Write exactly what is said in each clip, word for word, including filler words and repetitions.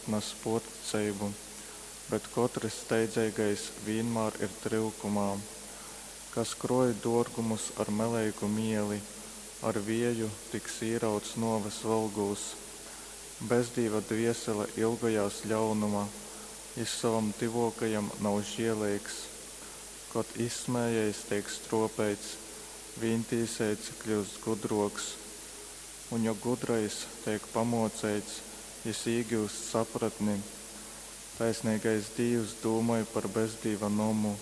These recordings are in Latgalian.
atnas pōrticeibu, bet kotrys steidzeigais vīnmār ir tryukumā. Kas krōj dōrgumus ar meleigu mēli, ar vieju tiks īrauts nōves volgūs. Bezdīva dviesele ilgojās ļaunuma, jis sovam tyvuokajam nav žieleigs. Kod izsmējējs teik struopeits, vīntīseits kļyust gudruoks. Un jo gudrais teik pamuoceits, jis īgyust sapratni. Taisneigais Dīvs dūmoj par bezdīva nomu,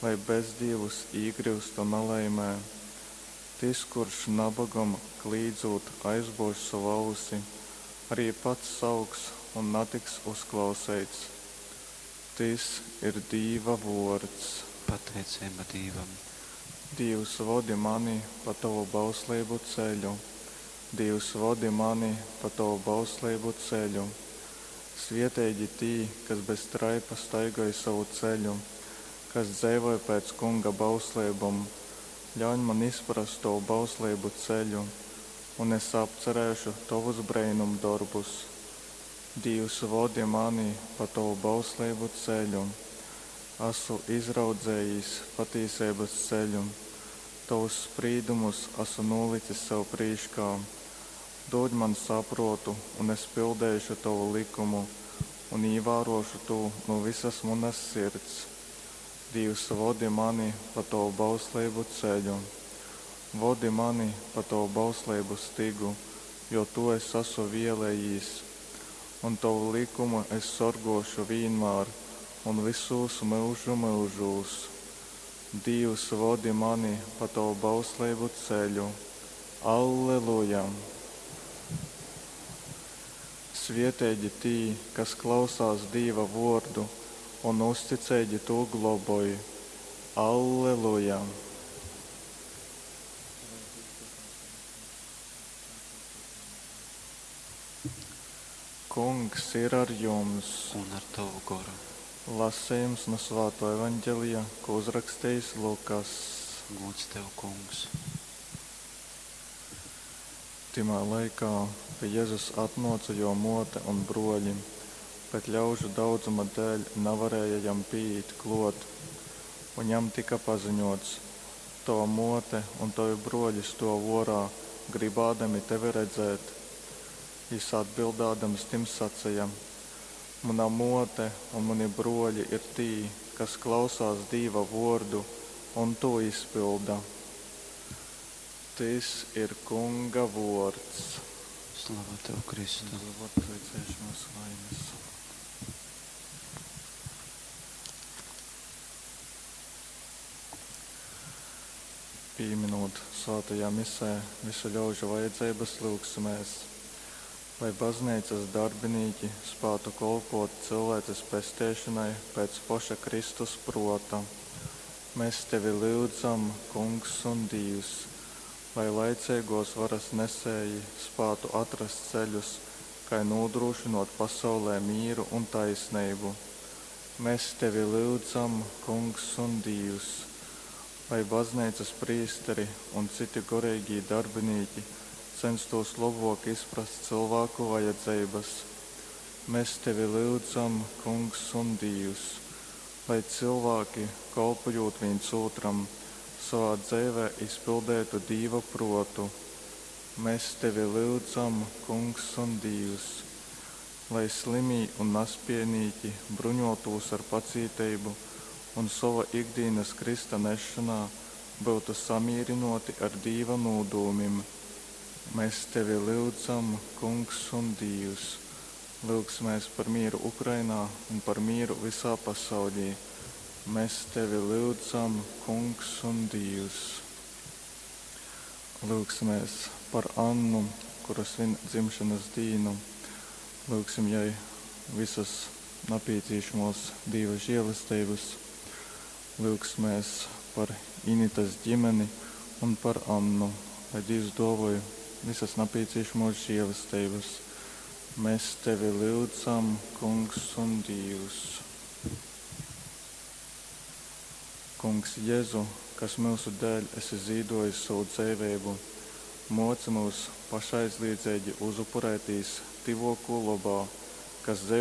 lai bezdīvus īgryustu nalaimē. Tys, kurš nabogam klīdzūt aizbuož sovu ausi, arī pats sauks un natiks uzklauseits. Tys ir Dīva vuords. Pateiceiba Dīvam. Dīvs, vodi mani pa tovu bausleibu ceļu. Dīvs, vodi mani pa tovu bausleibu ceļu. Svieteigi tī, kas bez traipa staigoj sovu ceļu, kas dzeivoj pēc Kunga bausleibom. Ļauņ man izprast tovu bausleibu ceļu, un es apcerēšu tovus breinumdorbus. Dīvs, vodi mani pa tovu bausleibu ceļu. Asu izraudzējis patīseibas ceļu, tovus sprīdumus asu nūlicis sev prīškā. Dūd man saprōtu, un es pildeišu tovu lykumu un īvārōšu tū nu vysas munas sirds. Dīvs, vodi mani pa tovu bausleibu ceļu. Vodi mani pa tovu bausleibu stygu, jo tū es asu vēlējīs. Un tovu lykumu es sorgōšu vīnmār un vysūs myužu myužūs. Dīvs, vodi mani pa tovu bausleibu ceļu. Alleluja! Svieteigi tī, kas klausās Dīva vuordu un uzticeigi tū globoj. Alleluja! Kungs ir ar jums! Un ar tavu goru. Lasījums no Svāto evaņģelija, ko uzrakstījis Lukas. Gods tev, Kungs. Tymā laikā pie Jezus atnōca jō mōte un brōļi, bet ļaužu daudzuma dēļ navarēja jam pīīt klōt. Un jam tyka paziņōts: Tova mōte un tovi brōļi stōv ōrā, grybādami tevi redzēt. Jys atbildādams tim saceja: Muna mōte un muni brōļi ir tī, kas klausās Dīva vōrdu un tū izpylda. Tys ir Kunga vōrds. Slava tev, Kristu. Apsveicēšanos vainas. Pīminot svātajā misē visu ļaužu vajadzeibas, lyugsimēs, lai bazneicas darbinīki spātu kolpot cilvēces pesteišonai pēc poša Kristus prōta. Mēs tevi lyudzam, Kungs un Dīvs, lai laiceigōs varas nesēji spātu atrast ceļus, kai nūdrūšynōt pasaulē mīru un taisneibu. Mēs tevi lyudzam, Kungs un Dīvs, lai bazneicas prīsteri un citi goreigī darbinīki censtos lobōk izprast cylvāku vajadzeibas. Mēs tevi lyudzam, Kungs un Dīvs, lai cilvēki, kolpojot viens otram, savā dzeivē izpildētu Dīva prōtu. Mēs tevi lyudzam, Kungs un Dīvs, lai slimī un naspiejnīki bruņotūs ar pacīteibu un sova ikdienas krista nešanā byutu samīrinoti ar Dīva nūdūmim. Mēs tevi lyudzam, Kungs un Dīvs, lyugsimies par mieru Ukrainā un par mieru visā pasaulī. Mēs tevi lyudzam, Kungs un Dīvs. Lūgsimies par Annu, kura svin dzimšanas dīnu. Lūgsim jai visas napīcīšamos Dīva žēlestības. Lūgsimies par Initas ģimeni un par Annu, lai Dievs dāvoj visas napīcīšamos žēlestības. Mēs tevi lyudzam, Kungs un Dievs. Kungs Jēzu, kas mūsu dēļ esi zīdojis savu dzeivību, moci mūs pašaizliedzeigi uzupurētīs tyvōkū lobā, kas dzeivo